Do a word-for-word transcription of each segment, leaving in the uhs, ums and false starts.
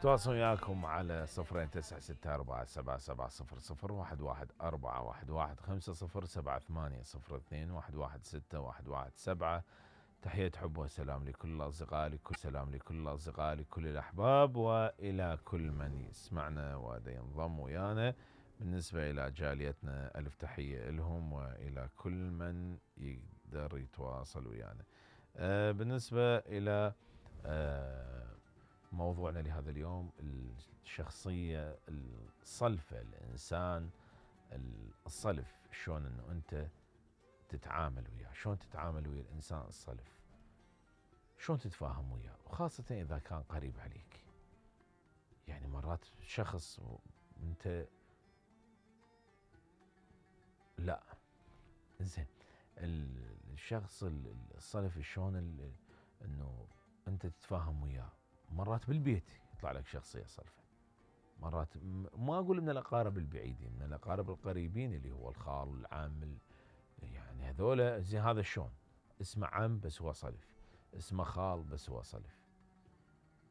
تواصل وياكم على صفرين تسعة ستة أربعة سبعة سبعة صفر صفر واحد واحد أربعة واحد واحد خمسة صفر سبعة ثمانية صفر اثنين واحد واحد ستة واحد واحد سبعة. تحية حب وسلام لكل الأصدقاء، لكل سلام لكل الأصدقاء، لكل الأحباب، وإلى كل من يسمعنا ودا ينضم ويانا. بالنسبة إلى جاليتنا ألف تحية لهم، وإلى كل من يقدر يتواصل ويانا. آه بالنسبة إلى آه موضوعنا لهذا اليوم، الشخصية الصلفة، الإنسان الصلف، شلون أنه أنت تتعامل وياه، شلون تتعامل ويا الإنسان الصلف، شلون تتفاهم وياه، وخاصة إذا كان قريب عليك. يعني مرات شخص أنت لا زين، الشخص الصلف شلون أنه أنت تتفاهم وياه. مرات بالبيت يطلع لك شخصية صلفة، مرات ما أقول من الأقارب البعيدين، من الأقارب القريبين اللي هو الخال والعام، يعني هذولا زين. هذا شلون اسمه عم بس هو صلف، اسمه خال بس هو صلف،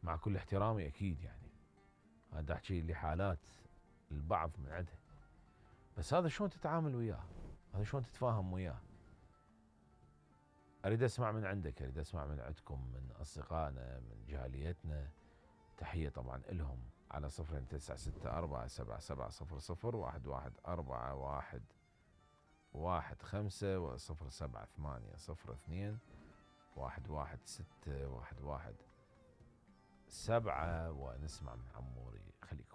مع كل احترامي أكيد. يعني هذا أحكي لحالات البعض من عندها، بس هذا شلون تتعامل وياه، هذا شلون تتفاهم وياه. أريد أسمع من عندك، أريد أسمع من عندكم، من أصدقائنا، من جاليتنا. تحية طبعا إلهم على صفرين تسعة ستة أربعة سبعة سبعة صفر صفر واحد واحد أربعة واحد واحد خمسة وصفر سبعة ثمانية صفر اثنين واحد واحد ستة واحد واحد سبعة. ونسمع من عموري. خليكم